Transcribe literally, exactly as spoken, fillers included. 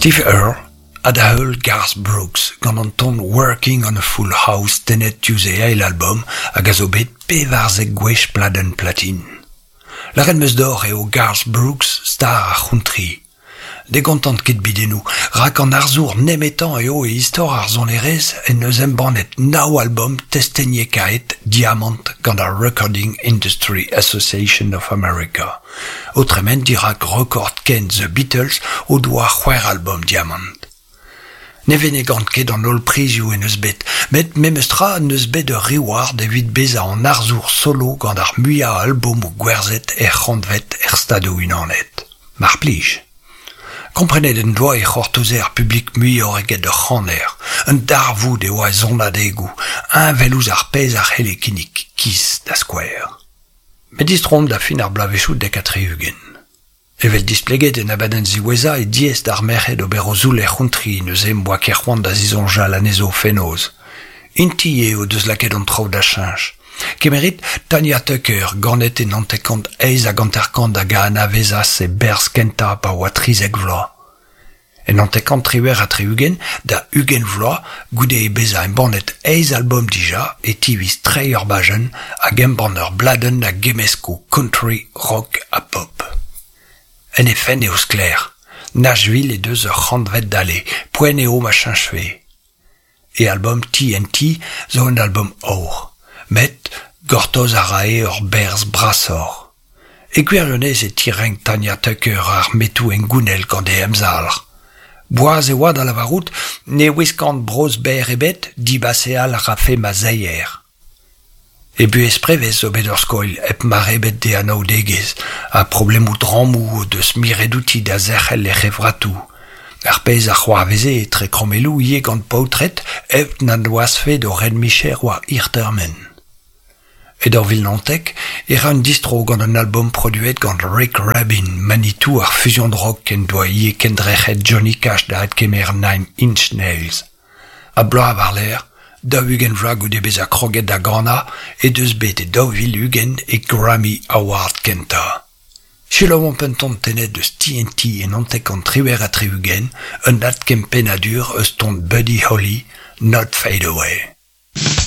Steve Earle ha da heul Garth Brooks gant an ton Working on a Full House tennet diouzh e eil albom hag a zo bet pevarzek gwech pladenn platin. Lâret 'm eus deoc'h eo Garth Brooks star ar c'hountry. Ne gontan ket bidennoù, rak an arzour nemetañ eo e istor ar sonerezh en deus embannet nav albom testeniekaet diamant gant ar Recording Industry Association of America. O tremen dirak rekord kent The Beatles o doa c'hwec'h albom diamant. Ne venegan ket an holl prizioù en deus bet, met memestra en deus bet ur reward evit bezañ an arzour solo gant ar muiañ albomoù gwerzhet er c'hantved er Stadoù-Unanet. Mar plij. Komprenet en doa e c'hortoze ar publik muioc'h eget ur c'haner. Un darvoud e oa e sonadegoù, heñvel ouzh ar pezh a c'helle kinnig Kiss da skouer. Met distroomp da fin ar bloavezhioù dek ha tri-ugent. Evel displeget en abadenn ziwezhañ eo diaes d'ar merc'hed ober o zoull er c'hountry neuze 'm boa ket c'hoant da zisoñjal anezho fenoz. Int-i eo o deus lakaet an traoù da cheñch. Kemerit Tanya Tucker, ganet e naontek-kant eizh hag hanter-kant hag a anavezas e berzh kentañ pa oa trizek vloaz. E naontek-kant triwec'h ha tri-ugent, da ugent vloaz, goude bezañ embannet eizh albom dija, e tiviz treiñ ur bajenn hag embann ur bladenn a gemmesko country, rock ha pop. En he fenn eo sklaer. Nashville he deus ur c'hantved dale, poent eo ma cheñchfe. E albom T N T zo un albom aour, met gortoz a rae ur berzh brasoc'h. E gwirionez e tirenk Tanya Tucker ar metoù hengounel gant e emzalc'h. Boaz e oa da lavarout ne wiskan brozh berr ebet, dibaseal a rafe ma seier. E buhez prevez zo bet ur skoilh hep mar ebet d'e anaoudegezh, ha problemoù drammoù o deus miret outi da zerc'hel he c'hevratoù. Ar pezh a c'hoarveze etre krommelloù ivez gant paotred hep na noazhfe d'o red-micher war hir termen. E daou vil naontek e ra un distro gant un albom produet gant Rick Rubin, Manitou ar fusion rock en doa ivez kendrec'het Johnny Cash da adkemer Nine Inch Nails. Ha bloaz war-lerc'h, daou-ugent vloaz goude bezañ kroget da ganañ he deus bet e daou vil ugent e Grammy Award kentañ. Selaouomp un ton tennet eus T N T e naontek-kant triwec'h ha tri-ugent, un adkempennadur eus ton Buddy Holly, Not Fade Away.